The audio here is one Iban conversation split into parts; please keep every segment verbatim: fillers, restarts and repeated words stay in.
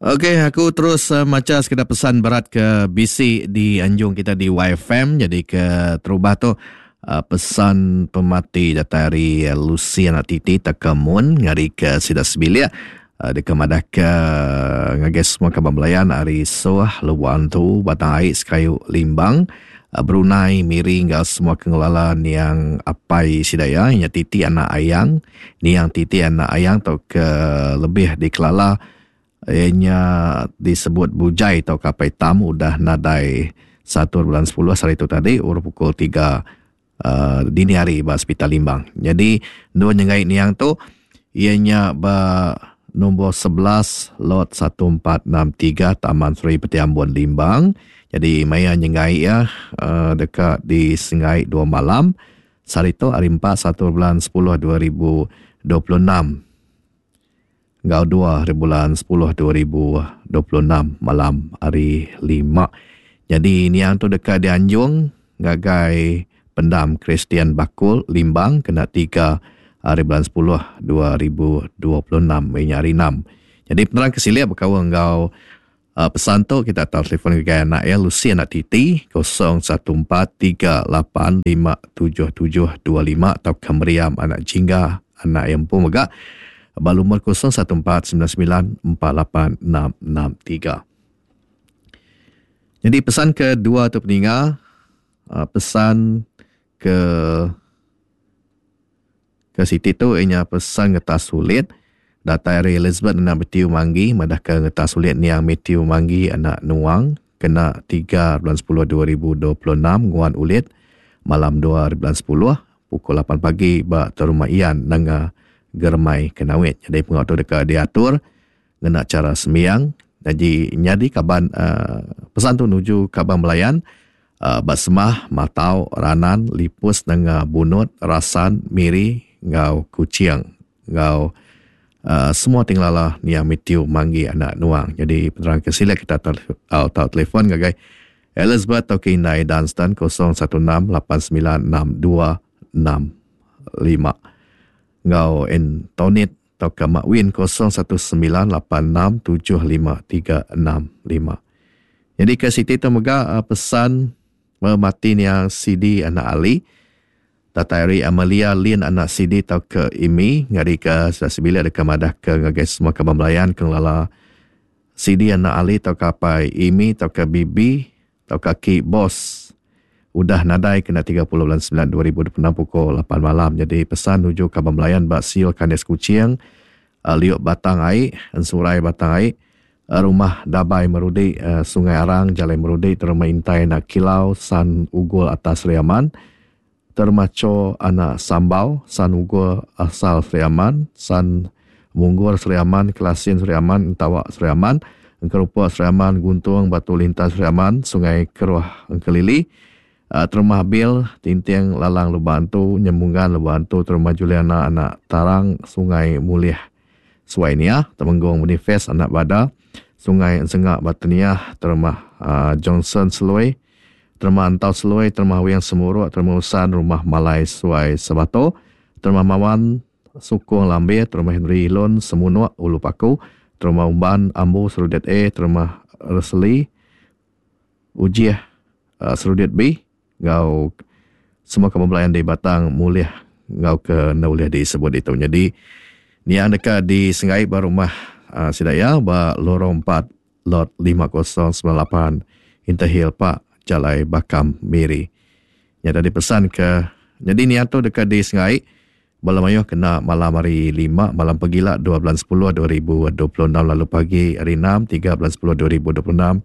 Okey, aku terus uh, maca sekeda pesan berat ke bisi di anjung kita di Y F M. Jadi ke terubah tu uh, pesan pemati datai ari Lucy anak Titi Takamun ngari ke sida sebilik uh, deka madah ke ngagai semua kaban belayan ari Soh, Luan Tu, Batang Ai, Sekayu, Limbang, uh, Brunei, Miri enggau semua kengelala niang apai sida ya, nya Titi anak Ayang, niang Titi anak Ayang tau ke lebih dikelala ianya disebut Bujai atau Kapai Tam udah nadai satu bulan sepuluh hari itu tadi urut pukul tiga uh, dini hari ba Hospital Limbang. Jadi dua nyengai niang tu ianya ba nombor sebelas lot satu empat enam tiga Taman Seri Peti Ambon Limbang. Jadi maya nyengai ya uh, dekat di Sengai dua malam hari tu hari empat satu bulan sepuluh dua ribu dua puluh enam. Ngau dua hari bulan sepuluh dua ribu dua puluh enam malam hari lima. Jadi niang tu dekat di Anjung ngagai Pendam Kristian Bakul Limbang kena tiga hari bulan sepuluh dua ribu dua puluh enam ini hari enam. Jadi penerang kesilia berkawan ngau uh, pesan tu kita tahu telefon ngagai anak ya Lucy anak Titi kosong satu empat tiga lapan lima tujuh tujuh dua lima atau Meriam anak Jingga anak yang pun megak balumur kosong satu empat sembilan sembilan empat lapan enam enam tiga. Jadi pesan kedua tu peninga, pesan ke ke Siti tu ianya pesan ngetas sulit datai ari Elizabeth anak Matthew Manggi madah ke ngetas sulit niang Matthew Manggi anak Nuang kena tiga bulan sepuluh dua ribu dua puluh enam nguan ulit malam dua bulan sepuluh pukul lapan pagi ba rumah Ian nanga Germai Kenawit. Jadi pengau tu dekat diatur ngena cara sembiang. Jadi nyadi kaban uh, pesan tu nuju kaban belayan uh, Basemah, Matau, Ranan, Lipus, Nanga Bunut, Rasan, Miri, ngau Kuching, ngau uh, semua tinglala niang Matthew Manggi anak Nuang. Jadi penerang kesila kita tahu uh, telefon ngagai Elizabeth atau Kindai Dunstan kosong satu enam lapan sembilan enam dua enam lima. Ngau Antonit atau ke Mak Win kosong satu sembilan lapan enam tujuh lima tiga enam lima. Jadi ke Siti tu mega pesan memati niang C D anak Ali Tatari Amalia Lin anak C D atau ke Imi ngari ke Sesibila dekat madah ke ngagai semua kaban belayan ke ngelala C D anak Ali atau ke apai Imi atau ke Bibi atau ke Ki Bos udah nadai kena tiga puluh bulan sembilan dua ribu dua puluh enam pukul lapan malam. Jadi pesan nuju kaban belayan bak Sil Kanes Kuching, uh, Liuk Batang Ai, Ensurai Batang Ai, uh, Rumah Dabai Merudi, uh, Sungai Arang, Jalai Merudi, Terma Intai Nak Kilau, San Ugul Atas Riaman, Termaco Anak Sambau, San Ugul Asal Sriaman, San Munggur Sriaman, Kelasin Sriaman, Entawak Sriaman, Engkerupa Sriaman, Guntung Batu Lintas Sriaman, Sungai Keruh Engkelili, Uh, Terumah Bil, Tinting Lalang Lubantu, Nyembungan Lubantu, Terumah Juliana Anak Tarang, Sungai Mulih Suainia, Temenggung Boniface Anak Bada, Sungai Ensengak Bateniah, Terumah uh, Johnson Seloi, Terumah Antau Seloi, Terumah Wiang Semuruk, Terumah Usan, Rumah Malai Suai Sebato, Terumah Mawan Sukung Lambir, Terumah Henry Ilon Semunuk Ulu Paku, Terumah Umban Ambu Serudet A, Terumah Resli Ujiah uh, Serudet B, ngau semua kamu belayan di Batang Mulih ngau ke Naulih disebut itu. Jadi ni yang dekat di Sengai ba rumah uh, Sidaya ba lorong empat lot lima kosong sembilan lapan Interhill Park Jalai Bakam Miri. Yang tadi pesan ke jadi ni tu dekat di Sengai bala mayuh kena malam hari lima malam pegila dua bulan sepuluh dua ribu dua puluh enam lalu pagi hari enam tiga bulan sepuluh dua ribu dua puluh enam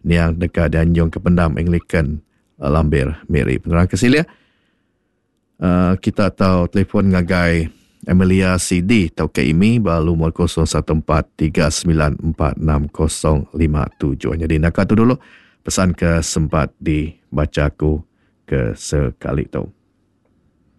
ni yang dekat di Anjung ke Pendam Anglican Lambir Miri. Penerang kesilia uh, kita tahu telefon ngagai Amelia C D atau ke I M I balu umur kosong satu empat tiga sembilan empat enam kosong lima tujuh. Jadi nak tu dulu pesan ke sempat dibaca aku ke sekali tu.